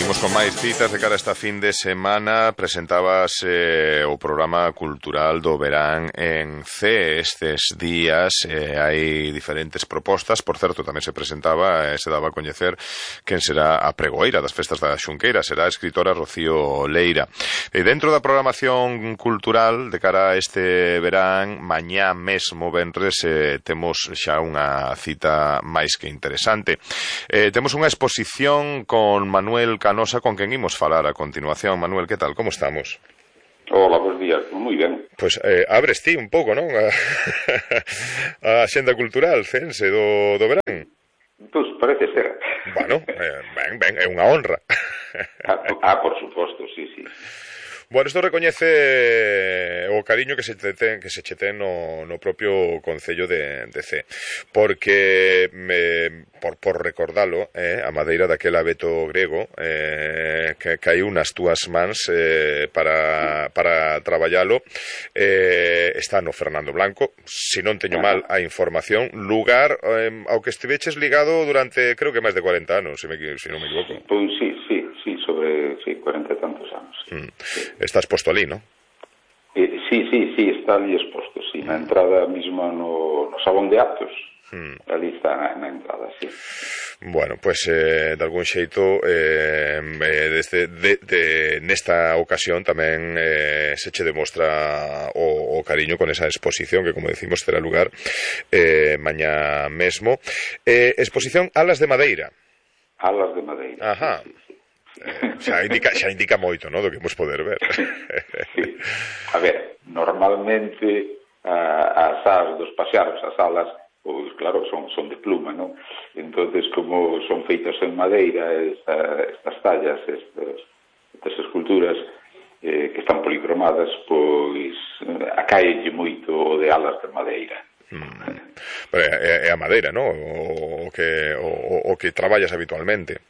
Seguimos con máis citas de cara a esta fin de semana. Presentabas o programa cultural do verán en C estes días. Hai diferentes propostas. Por certo, tamén se presentaba, se daba a coñecer quen será a pregoeira das festas da Xunqueira. Será a escritora Rocío Leira. E dentro da programación cultural de cara a este verán, mañá mesmo venres, temos xa unha cita máis que interesante. Temos unha exposición con Manuel Canosa, con quen imos falar a continuación. Manuel, que tal? Como estamos? Hola, bons días. Moi ben. Pois abres ti un pouco, non? A xenda cultural cense do verán. Pois parece ser. Bueno, ben, é unha honra. Por suposto, sí. Bueno, isto recoñece o cariño que se che ten no propio Concello de C, porque por recordalo, a madeira daquel abeto grego que caiu nas túas mans para traballalo, está no Fernando Blanco, se non teño mal a información, lugar ao que estiveches ligado durante, creo que máis de 40 anos, se non me equivoco. Pois sí, sobre 40 e tantos anos. Estás posto ali, non? Sí, está ali exposto, sí, na entrada mesma no salón de actos. Ali está na entrada, sí. Bueno, pues de algún xeito nesta ocasión tamén se che demostra o cariño con esa exposición que, como decimos, terá lugar mañá mesmo. Exposición Alas de Madeira. Alas de Madeira. Ajá. Sí. Xa indica moito, ¿no?, do que imos poder ver. Sí. A ver, normalmente as alas dos paxaros, as alas, pois claro, son de pluma, non? Entonces, como son feitas en madeira, estas tallas, estas esculturas que están policromadas, pois acaelle moito o de alas de madeira. Pero é a madeira, non? O que traballas habitualmente.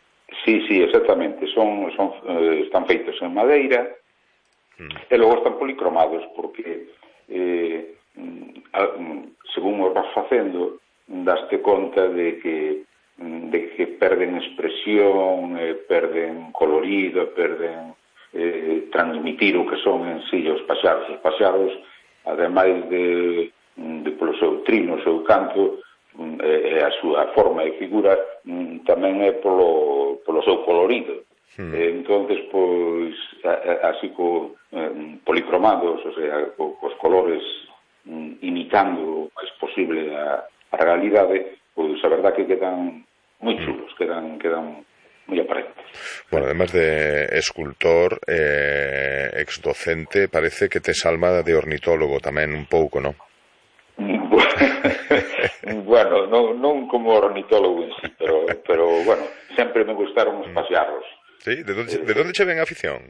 Sí, exactamente. Están feitos en madeira e logo están policromados porque según os vas facendo daste conta de que perden expresión, perden colorido, perden transmitir o que son en sí os paxaros. Os paxaros, ademais de polo seu trino, o seu canto, a súa forma e figura, tamén é polo seu colorido. Entonces, pois, así policromados, o sea, cos colores imitando o máis posible a realidade, pois a verdad que quedan moi chulos, quedan moi aparentes. Bueno, además de escultor, exdocente, parece que tes alma de ornitólogo tamén un pouco, non? Bueno, non como ornitólogo en sí, pero bueno, sempre me gustaron os paxaros. Sí? De onde che ven a afición?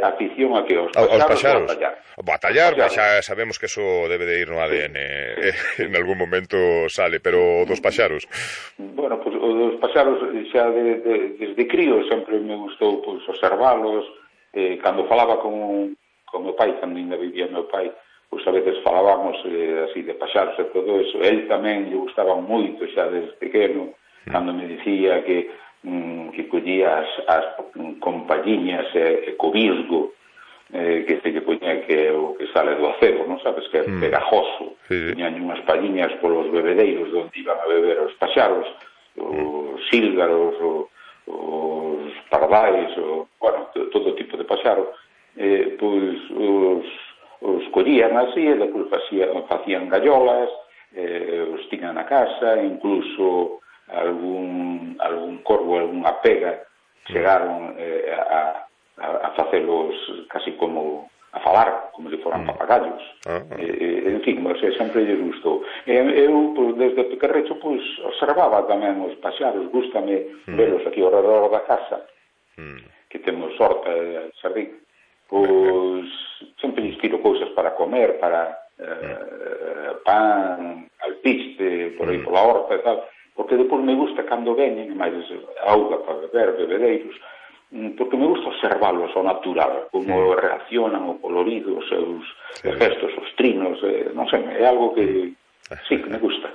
Afición a que os paxaros? Batallar, xa sabemos que eso debe de ir no ADN, en algún momento sale, pero dos paxaros? Bueno, pues o dos paxaros xa desde crío sempre me gustou pues, observalos. Cando falaba con meu pai, cando ainda vivía meu pai, pois a veces falábamos así de paxaros e todo eso. El tamén lle gustaba moito xa desde pequeno, cando me dicía que collía as compañiñas e co visgo que se lle poñía que o que sale do acebo, non sabes, que é pegajoso. Tiñan unhas palliñas polos bebedeiros onde iban a beber os paxaros, os sílgaros, os pardais, bueno, todo tipo de paxaro. Pois os collían así e depois facían gallolas, os tiñan na casa, incluso algún corvo, algunha pega chegaron a facelos casi como a falar, como se foran papagallos. En fin, sempre lle gustou. Eu, desde pequerrecho, observaba tamén os paxaros, gústame velos aquí ao redor da casa, que temos horta e xardín. Pois sempre lles tiro cousas para comer, para pan, alpiste, por aí pola horta e tal, porque depois me gusta cando veñen, máis auga para beber, bebedeiros, porque me gusta observarlos ao natural, como reaccionan o colorido, os seus gestos, os trinos, non sei, é algo que Sí, que me gusta.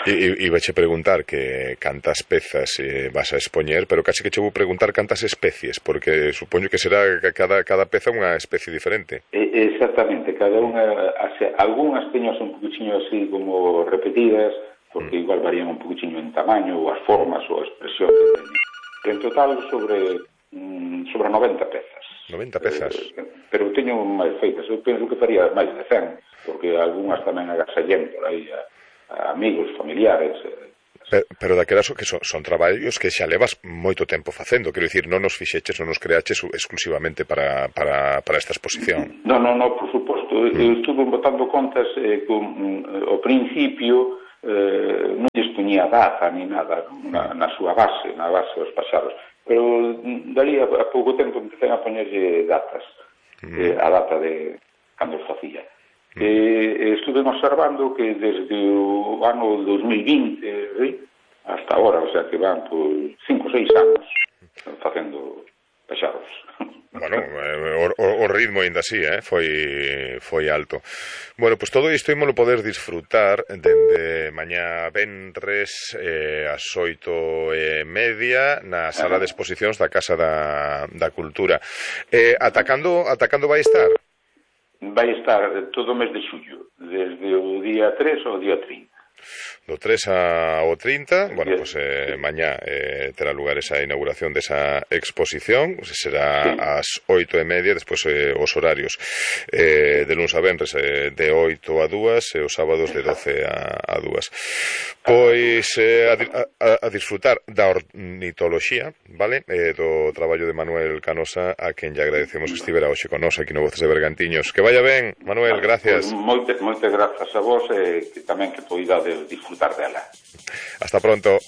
E vache preguntar que cantas pezas vas a expoñer, pero casi que che vou preguntar cantas especies, porque supoño que será cada peza unha especie diferente. Exactamente, cada unha, algunhas teño un poquinho así como repetidas, porque igual varían un poquinho en tamaño, ou as formas, ou a expresión que teñen. En total sobre 90 pezas. 90 pezas. Pero teño máis feitas, eu penso que faría máis de 100, porque algunhas tamén agasallén por aí a amigos, familiares. Pero daquelas que son traballos que xa levas moito tempo facendo, quero dicir, non nos fixeches, non nos creaches exclusivamente para esta exposición. Non, por suposto, eu estuve botando contas ao principio, non lles poñía data ni nada na súa base, na base dos paxaros, pero daría a pouco tempo empecé a poñerlle datas, a data de cando os facía. Estuve observando que desde o ano 2020 hasta ahora, o sea que van por 5 ou 6 anos facendo paxaros. Bueno, o ritmo ainda así, foi alto. Bueno, pues todo isto ímolo poder disfrutar dende mañá venres ás 8:30 na sala de exposicións da Casa da Cultura. Ata cando vai estar? Vai estar todo o mes de xullo, desde o día 3 ao día 30. Do 3 ao 30, bueno, pues mañá terá lugar esa inauguración desa exposición, será ás 8:30, despois os horarios de luns a venres de 8 a 2 e os sábados de 12 a 2. Pois a disfrutar da ornitoloxía, vale? Do traballo de Manuel Canosa, a quen lle agradecemos que estivera hoxe con nos aquí no Voces de Bergantiños. Que vaya ben, Manuel, gracias. Moitas grazas a vos e que tamén que poidades disfrutar dela. Hasta pronto.